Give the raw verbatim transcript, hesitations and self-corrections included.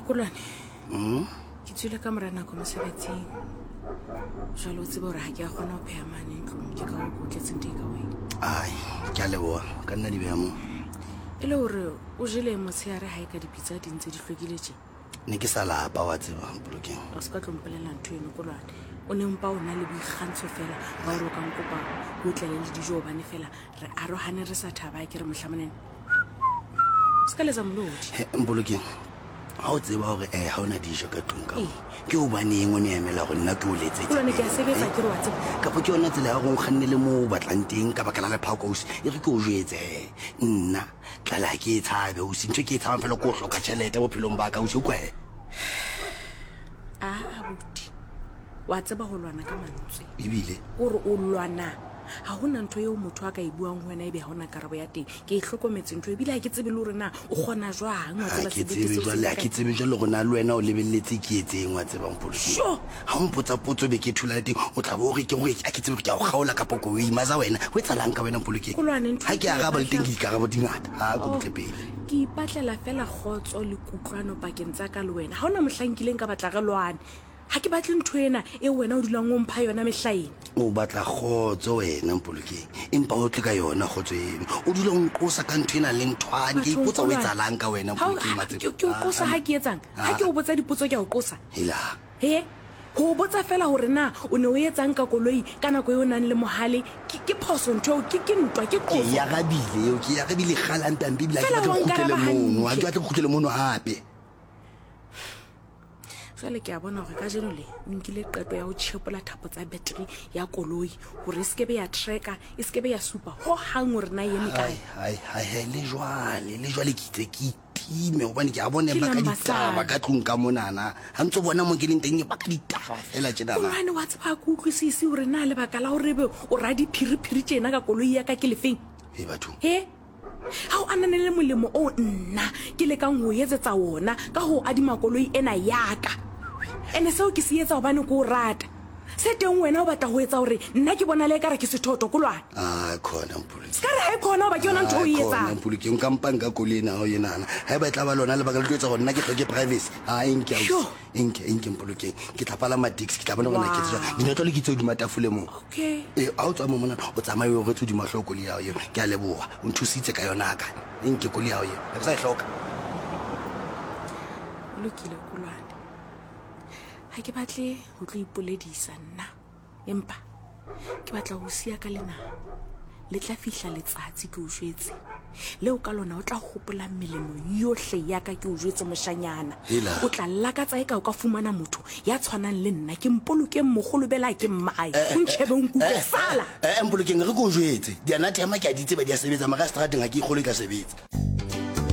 Kolwane, ke tswile ka mora nako mosebetsing. Jwale o tsebe hore ha ke a kgona ho pheha mane ntlong, ke ka hoo ke o tletseng take away. Ai, ke a leboha, ka nna di beha moo. E le hore o jele motshehare ha e ka dipitsa di ntse di hlwekile tje? Ne ke sa lapa wa tseba, Mpolokeng. O se ka tlo mpolela ntho eno Kolwane. O ne mpa o na le boikgantsho fela ba hore o ka nkopa o tlele le dijo hobane fela re arohane re sa thaba ke re mohlamonene. Se ka letsa molodi. He, Mpolokeng, ha o tseba hore eh ha ona dijo ka tlung ka mo, Ee. ke hobaneng o ne emela hore nna ke o letsetse? Kolwane, ke a sebetsa ke re wa tseba. Kapa ke yona tsela ya hore o nkgannele moo o batlang teng ka baka la lephako ausi? E re ke o jwetse he, nna tlala ha ke e tshabe ausi. Ntho e ke e tshabang fela ke ho hloka tjhelete bophelong ba ka ausi, o utlwa he? A abuti, wa tseba ho lwana ka mantswe. Ebile? O re o lwana. Ha hona ntho eo motho a ka e buang ho wena ebe ha hona karabo ya teng. Ke e hlokometse ntho ebile ha ke tsebe le hore na o kgona jwang wa Ha tseba ke sebete tsebe seo se jwale, ha kae. ke tsebe jwale hore na le wena o lebelletse ke etseng wa tseba Mpolokeng. Sure. Ha o mpotsa potso be ke thola le teng, o tla bo o re ke hore ha ke tsebe hore ke a o kgaola kapa ke o imaza wena. Ho etsahalang ka wena Mpolokeng? Kolwane, ntho Ha e ke ke e araba le teng batlang. ke dikarabo di ngata. Ha ko Oh, butle pele. Ke ipatlela fela kgotso le kutlwano pakeng tsa ka le wena. Ha hona mohlang nkileng ka batla re lwane. Ha ke batle ntho ena e wena o dulang o mpha yona mehlaena. O batla kgotso wena Mpolokeng, empa o tle ka yona kgotso eno. O dula o nqosa ka ntho ena le nthwane. Ke Bathong, ipotsa o Kolwane. etsahalang ka wena Ha o- Mpolokeng, ha- Matseba. ke ke o qosa ha ke etsang? Ha ke o botsa dipotso ke a o qosa. Hela. He? Ho o botsa fela hore na o ne o etsang ka koloi ka nako eo o nang le mohale, ke ke phoso ntho eo, ke ke ntwa, ke Ke qoso. e arabile eo, ke e arabile kgale hampe hampe ebile ha ke Fela batle wa ho kgutlele nkaraba mono, ha ke hantle. batle ho kgutlele mono hape. Jwale ke a bona hore kajeno le o nkile qeto ya ho tjhepola thapo tsa battery ya koloi hore e sekebe ya tracker, e sekebe ya supa ho hang hore na e eme kae. Hai, hai, hai, le jwale, le jwale ke itse ke itime hobane ke a bona Ke ba ka lamba ditaba sane. ka tlung ka monana. Ha ntso bona mo ke leng teng ba ka ditaba fela tjenana. Kolwane, wa tseba ha ke utlwisise hore na lebaka la hore ebe o ra diphiriphiri tjena ka koloi ya ka ke lefeng? He bathong. He? Ha o ananele molemo o nna ke lekang ho etsetsa wona ka ho adima koloi ena ya ka. Ene seo ke se etsa hobane ke o rata. Se teng wena o batla ho etsa hore nna ke bonale ekare ke sethoto Kolwane. Ah, khona Mpolokeng. Se ka re ha e khona hoba ke yona ntho o e Ah, khona etsang. Mpolokeng, nka mpa nka koloi ena ha o e nahana. Haeba e tla ba lona lebaka le tlo etsa hore nna ke hloke privacy. Ha e nke ausi. Sure. E nke, e nke Mpolokeng. Ke tla palama taxi, ke tla bona hore na ke etsa jwang. Wow. Dinotlolo ke tse hodima tafole moo. Okay. Eh, ha o tswa mo mona, o tsamaye o retse hodima hlooho koloi ya hao eo. Ke a leboha. O nthusitse ka yona ka. E nke koloi ya hao eo. Ha ke sa e hloka. O lokile Kolwane. Ha ke batle ho tlo ipoledisa nna, empa ke batla ho siya ka lena. Le tla fihla letsatsi ke o jwetse. Leo ka lona o tla hopola melemo yohle ya ka ke o jwetse moshanyana. Hela. O tla lakatsa eka o ka fumana motho ya tshwanang le nna. Ke Mpolokeng mogolobela ke mmae. O ntjhebe o nkutlwe Eh, sala. eh, eh, Mpolokeng re ke o jwetse. Dianathema ke a di tseba di a sebetsa, mara strateng ha ke ikgolwe e tla sebetsa.